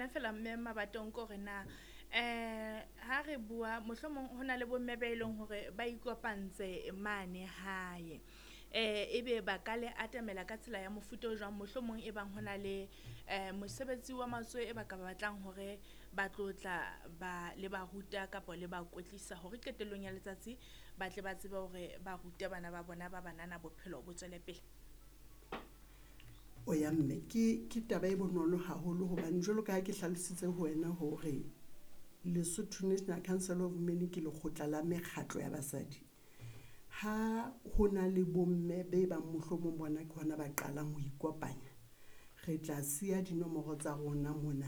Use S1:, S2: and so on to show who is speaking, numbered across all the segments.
S1: yona fela mme Mabatong ke hore na ha re bua mohlomong ho na le bomme ba e leng hore ba ikopantse mane hae. Ebe ba ka le atamela ka tsela ya mofuta o jwang mohlomong e bang ho na le mosebetsi wa matsoho e ba ka batlang hore ba tlo tla ba le ba ruta kapa le ba kwetlisa hore qetellong ya letsatsi ba tle ba tsebe hore ba rute bana ba bona ba banana bophelo bo tswele pele.
S2: O ya mme ke taba e bonolo haholo hobane jwalo ka ha ke hlalositse ho wena hore Lesotho National Council of Women ke lekgotla la mekgatlo ya basadi. Ha ho na le bomme be bang mohlomong bona ke hona ba qalang ho ikopanya, re tla siya dinomoro tsa rona mona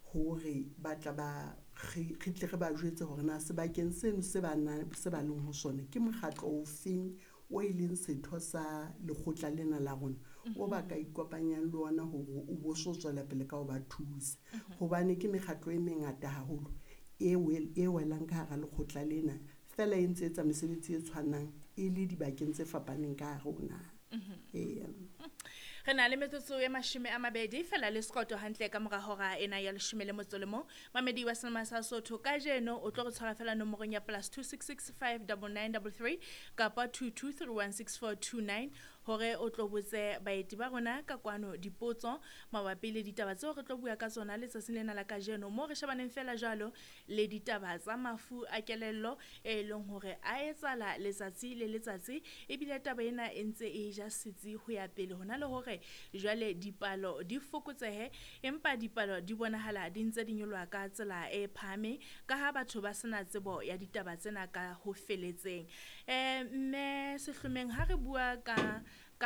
S2: hore ba tla ba re tle re ba jwetse hore na sebakeng seno se ba se ba leng ho sona ke mokgatlo ofeng o e leng setho sa lekgotla lena la rona o ba ka ikopanyang le ona hore o bo so tswela pele ka ho ba thusa. Hobane ke mekgatlo e mengata haholo e welang ka hara lekgotla lena, fela e ntse etsa mesebetsi e tshwanang e le dibakeng tse fapaneng ka hare ho naha. Eya.
S1: Re na le metsotso e 20 fela le sekoto hantle ka mora hora ena ya 11. Mamedi wa Selma sa Sotho kajeno o tlo re tshwara fela nomorong ya +266 59933 kapa 22316429 hore o tlo botse baeti ba rona ka kwano dipotso mabapi le ditaba tseo re tlo bua ka tsona letsatsing lena la kajeno, mo re shebaneng fela jwalo le ditaba tsa mafu a kelello e leng hore a etsahala letsatsi le letsatsi, ebile taba ena e ntse e ja setsi ho ya pele hona le hore jwale dipalo di fokotsehe, empa dipalo di bonahala di ntse di nyoloha ka tsela e phahameng ka ha batho ba sena tsebo ya ditaba tsena ka ho feletseng. Mme Sehlomeng, ha re bua ka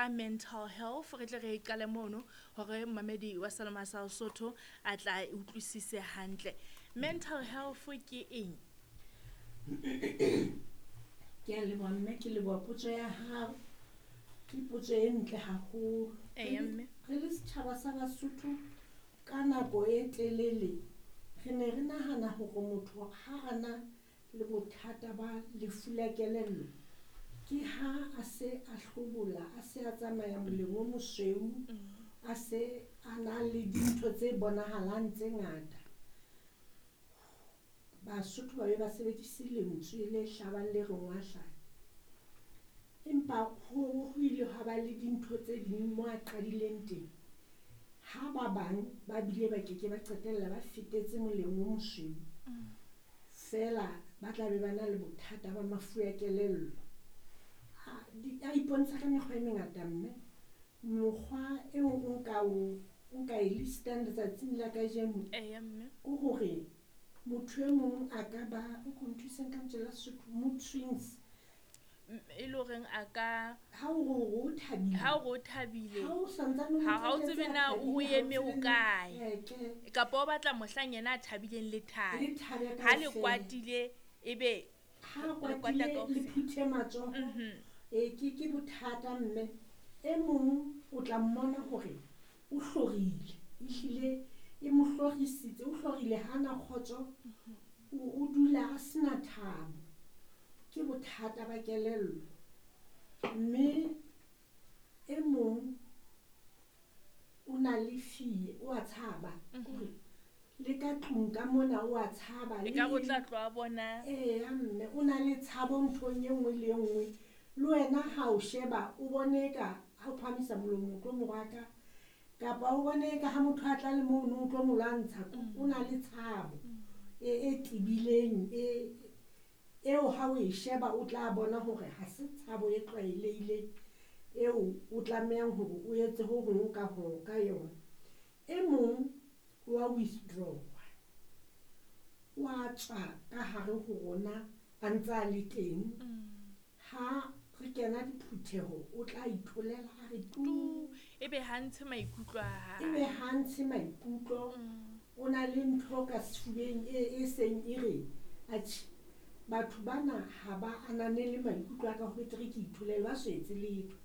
S1: mental health re tle re qale mono hore mamedi wa Selma sa Sotho a tla utlwisise hantle. Mental health ke eng?
S3: Ke a leboha mme, ke leboha potso ya hao. Ke potso e ntle haholo.
S1: Eya mme.
S3: Re le setjhaba sa Basotho ka nako e telele re ne re nahana hore motho ha a na le bothata ba lefu la kelello ke ha a se a hlobola, a se a tsamaya moleng o mosweu, a se a na le dintho tse bonahalang tse ngata. Basotho ba be ba sebedise lentswe le hlabang le reng wa hlanya. Empa ho ile ha ba le dintho tse ding mo a qadileng teng, ha ba bang ba bile ba keke ba qetella ba fetetse moleng o mosweu, fela ba tla be ba na le bothata ba mafu a kelello. A ipontsha ka mekgwa e mengata mme. Mokgwa eo nka e listang letsatsing la kajeno
S1: Eya mme.
S3: ke hore motho e mong a ka ba, o ko nthuseng ka lentswe la Sesotho, mood swings.
S1: E le horeng a ka
S3: Ha o re o thabile.
S1: Ha o re o thabile.
S3: Ha o santsane o
S1: Ha o
S3: thabile,
S1: tsebe na
S3: thabile,
S1: o
S3: ha o
S1: eme
S3: tsebe
S1: ho
S3: na
S1: kae.
S3: Ke.
S1: Kapa o batla mohlang yena a thabileng le thabe.
S3: Le thabe
S1: Ha le
S3: kaofela.
S1: kwatile ebe
S3: Ha
S1: le kwata
S3: kwatile, le
S1: kaofela.
S3: phuthe matsoho. Ke bothata mme. E mong o tla mmona hore o hlorile, ehlile e mo hlorisitse, o hlorile ha ana kgotso, o dula a sena thabo. Ke bothata ba kelello. Mme e mong o na le fear, o a tshaba. Hore le ka tlung ka mona o a tshaba.
S1: E ka re o tla tloha bona.
S3: Eya mme, o na le tshabo nthong e nngwe le e nngwe. Le wena ha o sheba, o bone ka ha o phahamisa molomo o tlo mo rwaka, kapa o bone ka ha motho a tla le mono o tlo mo lwantsha. O na le tshabo e tebileng, eo ha o e sheba o tla bona hore ha se tshabo e tlwaelehileng eo o tlamehang hore o etse ho hong ka ho ka yona. E mong wa withdraw, wa tswa ka hare ho rona a ntse a le teng. Ha re kena diphutheho o tla itholela a re tu.
S1: Tu, ebe ha ntshe maikutlo a hae.
S3: Ebe ha ntshe maikutlo. O na le ntho ka sefubeng e seng e re, atjhe, batho bana ha ba ananele maikutlo a ka, ho betere ke itholele, ba so etse letho.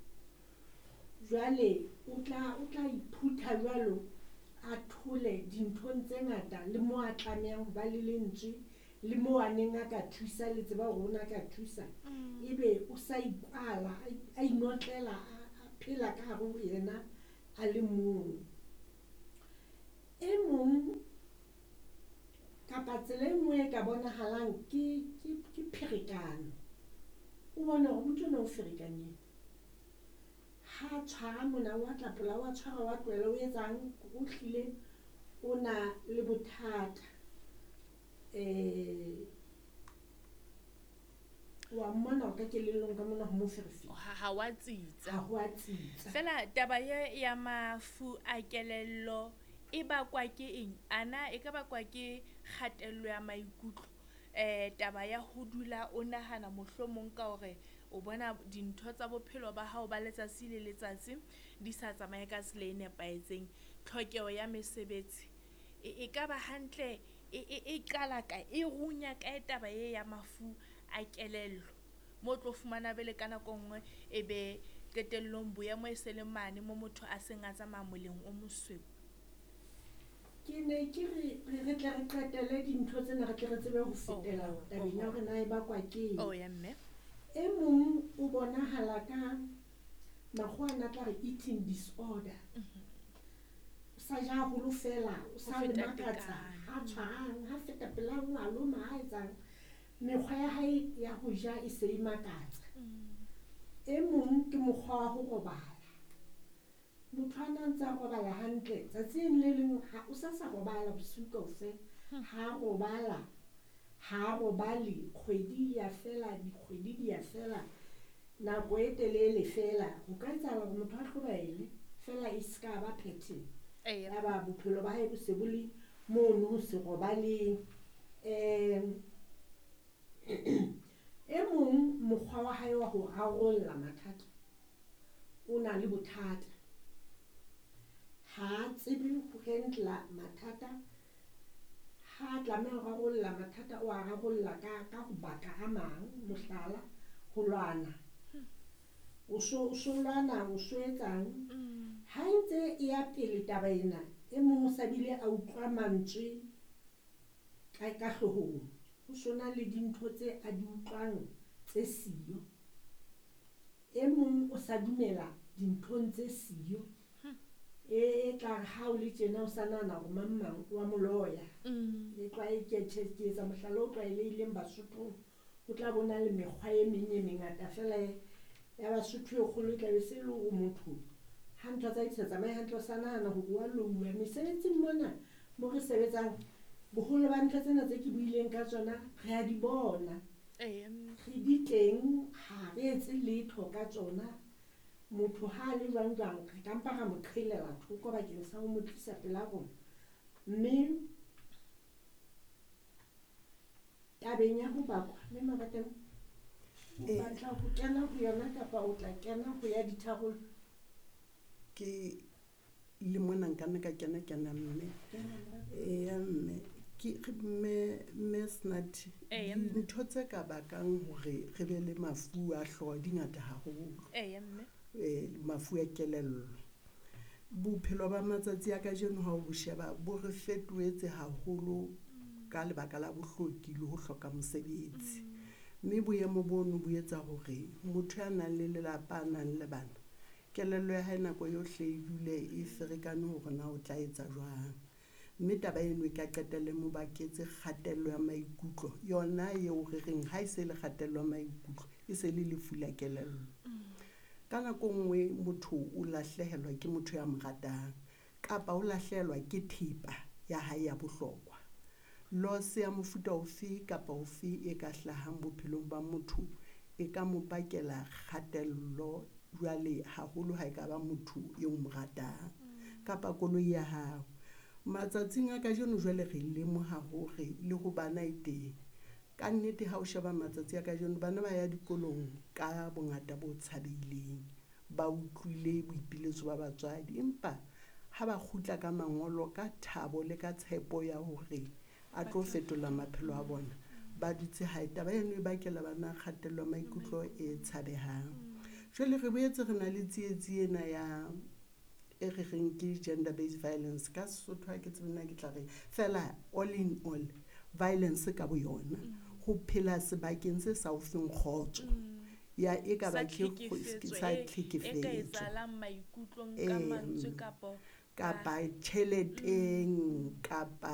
S3: Jwale o tla iphutha jwalo, a thole dinthong tse ngata le mo a tlamehang ho ba le lentswe, le mo a neng a ka thusa, le tseba hore o ne a ka thusa. Ebe o sa ikwala, a inotlela, a phela ka hare ho yena a le mong. E mong Kapa tsela e nngwe e ka bonahalang ke pherekano. O bone hore motho enwa o ferekane. Ha tshwara mona wa tlapola, wa tshwara wa tlohela, o etsang, o hlile o na le bothata. Wa mmona ka kelellong ka mona ho mo ferefere.
S1: Ha wa tsitsa.
S3: Ha ho a tsitsa.
S1: Fela taba ye ya mafu a kelello e bakwa ke eng? Ana e ka bakwa ke kgatello ya maikutlo? Taba ya ho dula o nahana mohlomong ka hore o bona dintho tsa bophelo ba hao ba letsatsi le letsatsi di sa tsamaye ka tsela e nepahetseng, tlhokeho ya mesebetsi e ka ba hantle, e qala kae, e runya kae taba e ya mafu a kelello, mo tlo fumana bele ka nako nngwe e be qetellong boemo e se le mane mo motho a seng a tsamaya moleng o mosweu.
S3: Ke ne ke re tle re qetele dintho tsena, re tle re tsebe ho fetela tabeng ya hore na e bakwa ke eng.
S1: Oh ya mme.
S3: E mong o bonahala ka makgowa ana tla re eating disorder. O sa ja haholo fela, o sa
S1: Ho
S3: le
S1: feta
S3: makatsa,
S1: tekano.
S3: ha tshwarang, ha feta pela nngwe, a loma, ha etsang. Mekgwa ya hae ya ho ja e se e makatsa. E mong ke mokgwa wa ho robala. Motho a na ntse a robala hantle, tsatsing le leng ha o sa sa robala bosiu kaofela. Ha robala, ha robale, kgwedi ya fela, dikgwedi di ya fela, nako e telele fela. Ho ka etsahala hore motho a hlobaele fela e ska ba pattern. Ya ba bophelo ba hae bo se bo le mono ho se robaleng. E mong mokgwa wa hae wa ho rarolla mathata o na le bothata. Ha tsebe ho handle mathata, ha tlameha ho rarolla mathata o a rarolla ka ho baka a mang, mohlala ho lwana. O so lwana, o so etsang. Ha e ntse e ya pele taba ena, e mong o sa bile a utlwa mantswe ka hloohong. Ho sona le dintho tse a di utlwang tse siyo. E mong o sa dumela dinthong tse siyo. E tla re ha o le tjena o sa nahana hore mang mang wa mo loya. E ke etsa mohlala o tlwaelehileng Basothong. Ho tla bona le mekgwa e meng e mengata fela ya Basotho e kgolo e tla be se le hore motho ha ntho tsa hae di sa tsamaye hantle, o sa nahana hore wa louwa. Mesebetsing mona mo re sebetsang, boholo ba ntho tsena tse ke buileng ka tsona re a di bona. Re di teng, ha re etse letho ka tsona. Motho ha a le jwang jwang, re ka mpa ra mo qhelela thoko bakeng sa ho mo tlisa pela rona. Mme tabeng ya ho bakwa, mme Mabatang, o batla ho kena ho yona kapa o tla kena ho ya ditharollo?
S2: Ke le mona nka nna ka kena mme. Eya mme, ke mme Snati, dintho tse ka bakang hore re be le mafu a hlooho di ngata haholo.
S1: Eya mme.
S2: Mafu a kelello. Bophelo ba matsatsi a kajeno ha o bo sheba bo re fetohetse haholo ka lebaka la bohloki le ho hloka mosebetsi. Mme boemo bono bo etsa hore motho ya nang le lelapa, a nang le bana, kelello ya hae nako yohle e dule e ferekane hore na o tla etsa jwang. Mme taba eno e ka qetelle mo baketse kgatello ya maikutlo, yona eo re reng ha e se le kgatello ya maikutlo, e se le lefu la kelello. Ka nako nngwe motho o lahlehelwa ke motho ya mo ratang, kapa o lahlehelwa ke thepa ya hae ya bohlokwa. Loss ya mofuta ofe kapa ofe e ka hlahang bophelong ba motho e ka mo bakela kgatello jwale haholo ha e ka ba motho eo mo ratang, kapa koloi ya hao. Matsatsing a kajeno jwale re lemoha hore le ho bana e teng. Ka nnete ha o sheba matsatsi a kajeno, bana ba ya dikolong ka bongata bo tshabeileng, ba utlwile boipiletso ba batswadi, empa ha ba kgutla ka mangolo ka thabo le ka tshepo ya hore a tlo fetola maphelo a bona, ba dutse hae. Taba eno e bakela bana kgatello ya maikutlo e tshabehang. Jwale re boetse re na le tsietsi ena ya e re reng ke gender based violence. Ka Sesotho ha ke tsebe na ke tla reng, fela all in all violence ka boyona, ho phela sebakeng se sa o feng kgotso. Ya e ka ba
S1: Sa
S2: ke
S1: tlhekefetso
S2: sa
S1: e ka
S2: tlhekefetso.
S1: etsahalang maikutlong ka mantswe
S2: Kapa tjheleteng, kapa